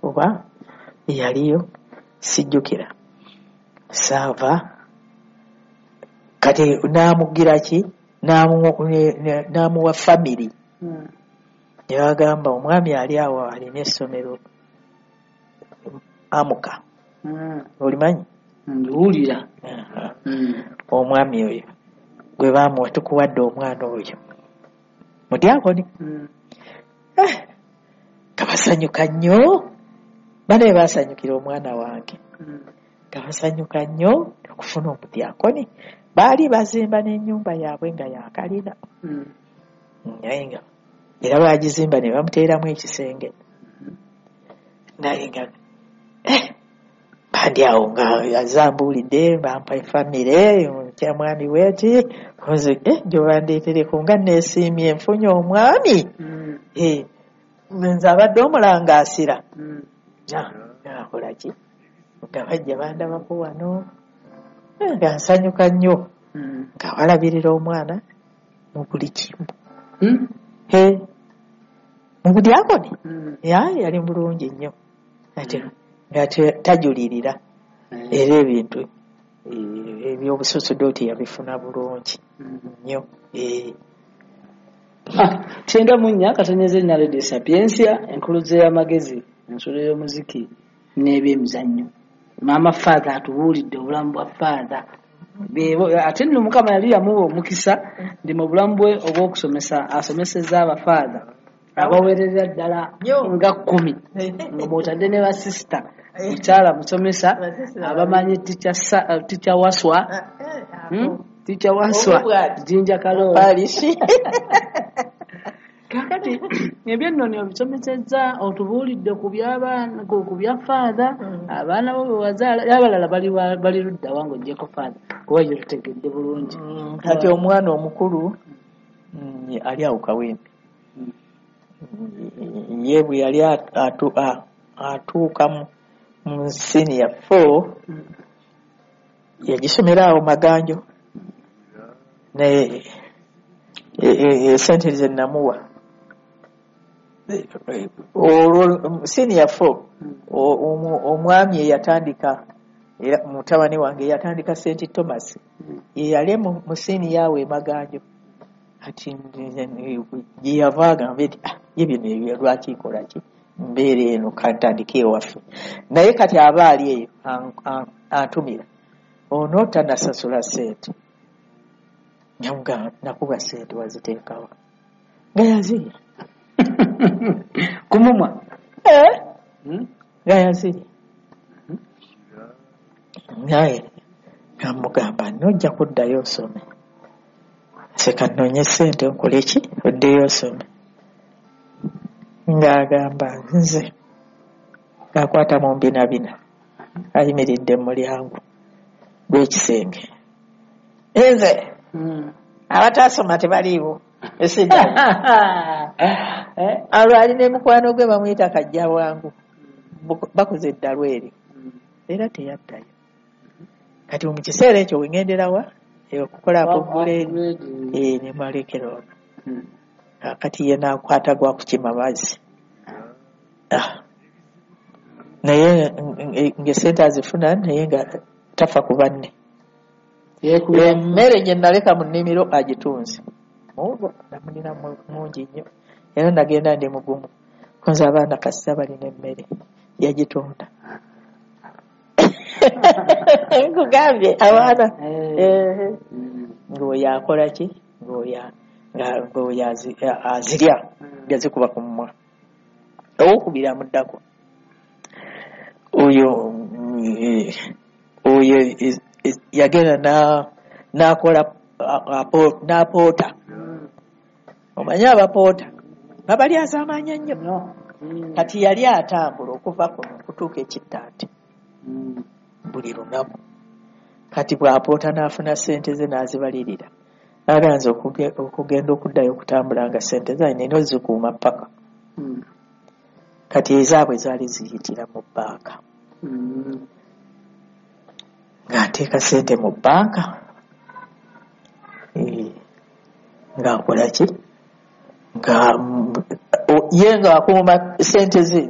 Oba yaliyo, sijjukira. Saava kati n'amugira ki, n'amuwa family. Ne bagamba omwami ali awo alina essomero Amuka. Olimanyi? Ndiwulira. Omwami oyo gwe baamuwa, tukuwadde omwana oyo mudyakoni. Nga basanyuka nnyo, banaye basanyukira omwana wange. Nga basanyuka nnyo okufuna omudyakoni. Baali bazimba n'ennyumba yaabwe nga yakalina. Naye nga era bagizimba ne bamuteeramu ekisenge. Naye nga bandi awo nga azambuulidde, bampa efamire kya mwami bweti nze, gyobandeetereko nga neesiimye nfunye omwami. Nze abadde omulangaasira. Akola ki nga bajja bandabako wano. Nga nsanyuka nnyo. Nga balabirira omwana mu buli kimu. Mu budyakoni. Yali bulungi nnyo ate nga tajulirira. Era ebintu ebyobusosodooti yabifuna bulungi nnyo. 94 Radio Sapientia, enkuluze y'amagezi, ensulo y'omuziki n'ebyemizannyo. Maama Father atubuulidde obulamu bwa Father. Ate nno Mukama yali yamuwa omukisa ndi mu bulamu bwe obw'okusomesa, asomesezza abafaatha abawerera ddala nga 10, nga mw'otadde ne basisita. Mukyala musomesa abamanyi Teacher Waswa, Teacher Waswa, Jinja Kaloo. Kakati ebyennono obisomesezza, otubuulidde ku by'abaana, ku bya Father, abaana bo be wazaala, abalala bali ludda wa ng'oggyeko Father, kuba ye tutegedde bulungi. Kati omwana omukulu ali awo Kawempe. Ye bwe yali atuuka mu senior 4, yagisomera awo Maganjo. Naye esente ze namuwa olwo senior 4, omwami eyatandika, era mutabani wange eyatandika St Thomas, ye yali mu senior awo e Maganjo. Kati gye yava agambe nti, ye bino ebyo lwaki nkola ki, mbeera eno kantandike ewaffe. Naye kati aba ali eyo antumira ono tanasasula ssente. Namugamba nakuba ssente waziteekawa, nga yazirya. Kumumwa? Nga yazirya. Naye namugamba nojja kuddayo osome, seka nnoonye ssente nkole ki oddeyo osome. Ng'agamba nze ng'akwata mu mbinabina ayimiridde mu mulyango gw'ekisenge, nze abataasoma tebaliiwo esidda. Olwo ali ne mukwano gwe bamuyita Kajja Bwangu, bakoze eddalu eryo era teyaddayo. Kati mu kiseera ekyo wengenderawa okukola upgrade, ne malekera ono. Kati ye n'akwata gwa kukima mazzi. Naye ng'essente azifuna, naye nga tafa ku banne. Emmere gye naleka mu nnimiro agitunze. Muwogo namulina mungi nnyo, era nagenda ndi mugumu konza abaana kasita balina emmere yagitunda. Nkugambye abaana ng'oyo akola ki, ng'oyo azirya gazikuba ku mumwa. Owokubiri amuddako oyo yagenda n'akola n'apoota. Omanyi abapoota babalyaza amaanyi nnyo. Kati yali atambula okuva kuno okutuuka Ekittante buli lunaku. Kati bw'apoota n'afuna ssente ze n'azibalirira, n'aganza okugenda okuddayo okutambula nga ssente ze alina ozikuuma ppaka. Kati ezaabwe zaali ziyitira mu bbanka. Ng'ateeka ssente mu bbanka, ng'akola ki, nga ye ng'akuuma ssente ze.